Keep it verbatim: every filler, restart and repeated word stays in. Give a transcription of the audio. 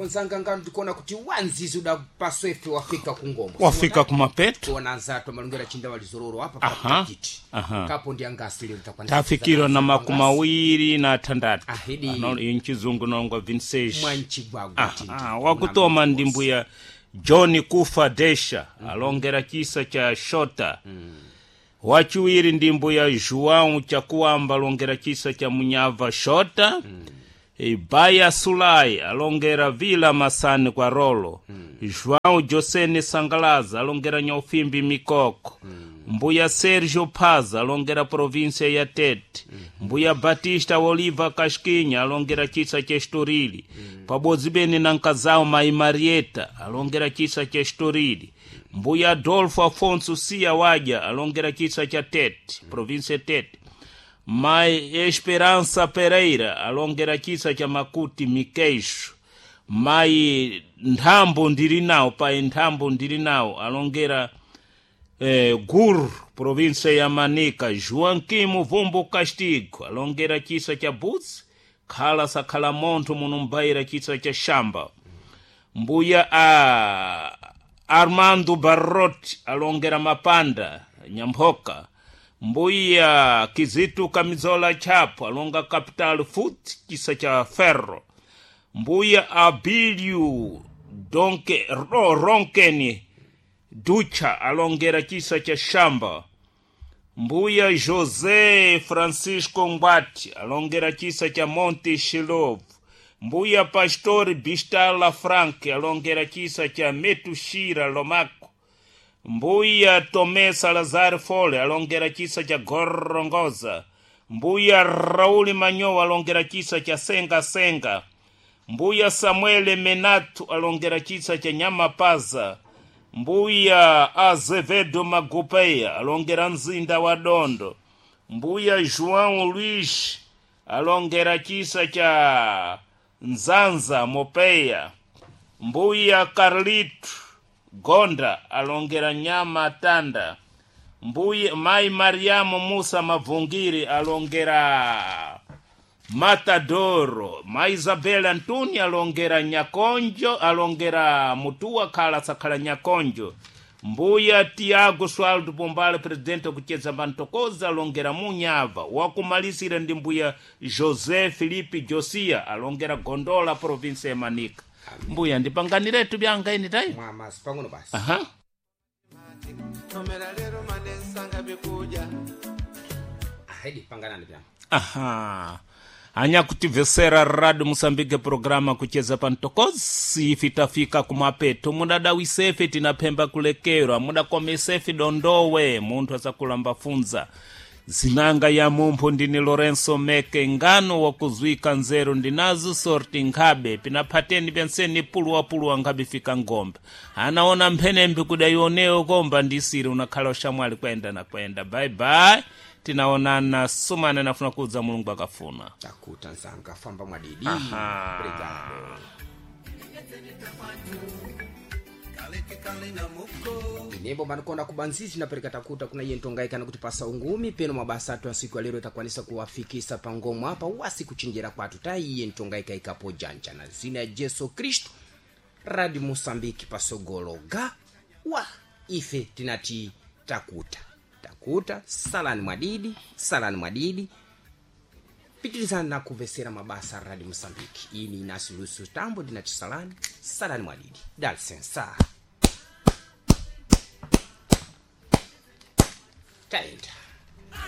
Nzanga ngano tikuona kuti wanzizi udapaso ife wafika kungombo Wafika kumapeto. Kuona anzatu amalongera chinda walizororo apa Aha, pakutakiti aha. kapo ndi angasi lero takwanisa Tafikirwa na makumi awiri na atandatu. Ahidi. Ano, inchizungu nongwa vinseji. Mwanchigwagwa tindi. Ah, wakutoma ndi mbuya John Kufa Desha alongera chisa cha Shota. Wachiwiri ndi mbuya João Chakuamba alongera chisa cha Munyava Shota. Ibaya Sulai alongera Vila Masani kwa Rolo. João Josene Sangalaza alongera Nyaufimbi Mikoko. Mbuya Sergio Paz alongera província ya Tete. Mbuya Batista Oliva Casquinha alongera chisa cha Estorili. Pabodzi bene na nkazao Mai Marieta alongera chisa cha Estorili. Mbuya Adolfo Afonso Sia Waja alongera chisa cha Tete, província ya Tete. Mai Esperança Pereira alongera chisa cha Makuti Mikeixo. Mai Nthambo ndili nawo pai Nthambo ndili nawo alongera eh, Gur, província ya Manica. Joaquim Vumbo Castigo alongera chisa cha Butsi, khala sakhala montho munumbaira chisa cha Shamba. Mbuya a Armando Barrot alongera Mapanda Nyamphoka. Mbuya Kizitu Kamizola Chapo alonga Capital Foot chisa cha Ferro. Mbuya Abiliu Donke Ro, Ronkeni Ducha alongera chisa cha Shamba. Mbuya José Francisco Ngwati alongera chisa cha Monte Shilovo. Mbuya Pastor Bistala Frank alongera chisa cha Metushira Lomako. Mbuya Tomé Salazar Fole alongera chisa cha Gorongoza. Mbuya Rauli Manyowa alongera chisa cha Senga Senga. Mbuya Samuele Menatu alongera chisa cha Nyamapaza. Mbuya Azevedo Magupeya alongera mzinda wa Dondo. Mbuya João Luiz alongera chisa cha Nzanza Mopeya. Mbuya Carlito Gonda alongera Nyama Tanda. Mbuya Mai Mariamu Musa Mavungiri alongera Matadoro. Ma Isabel Antoni alongera Nyakonjo, alongera Mutua khala sakhala Nyakonjo. Mbuya Tiago Swaldo Pombale, presidente kucheza Bantokoza, alongera Munyava. Wakumalisira ndi mbuya José Felipe Josia alongera Gondola, província ya Manica. Mbuya ndipanganiretu byanga ini tayo. Mwamasi pang'ono basi. Aha. Tomera lero manesanga bikuja. Ahidi panganani byanga. Aha. Anyakutivesera Radio Moçambique programa kucheza pantokozi ifi tafika kumapeto mudadawisefe tinaphemba kulekerwa mudakomesefe dondowe munthu asakulamba funza zinanga ya mumpho ndini Lorenso Meke ngano wakuzwika nzeru ndinazo sorti nkhabe pinaphateni pyanseni puluwapuluwa nkhabe fika ngombe anaona mphenembe kudaionewo komba ndisiri unakhala ushamwali kwenda na kwenda bye bye tinaonana sumane nafuna kudza Mulungu akafuna. Takuta nzanga famba mwadidi. Aha. Obrigado. Inembo manikona kubanzizi napereka takuta kuna iye ntongaikana kuti pasa ungumi peno mabasa atu asiku alero itakwanisa kuwafikisa pangomo apa wasi kuchinjira kwatu taiye ntongaika ikapo janja na zina ya Jesu Kristu Radio Mosambiki pasogolo ga wa ife tinati takuta takuta salani mwadidi salani mwadidi pitirizani na kuvesera mabasa a Radio Mosambiki. Ini Inácio Lúcio Tambo ndinati salani salani mwadidi dá licença taenda.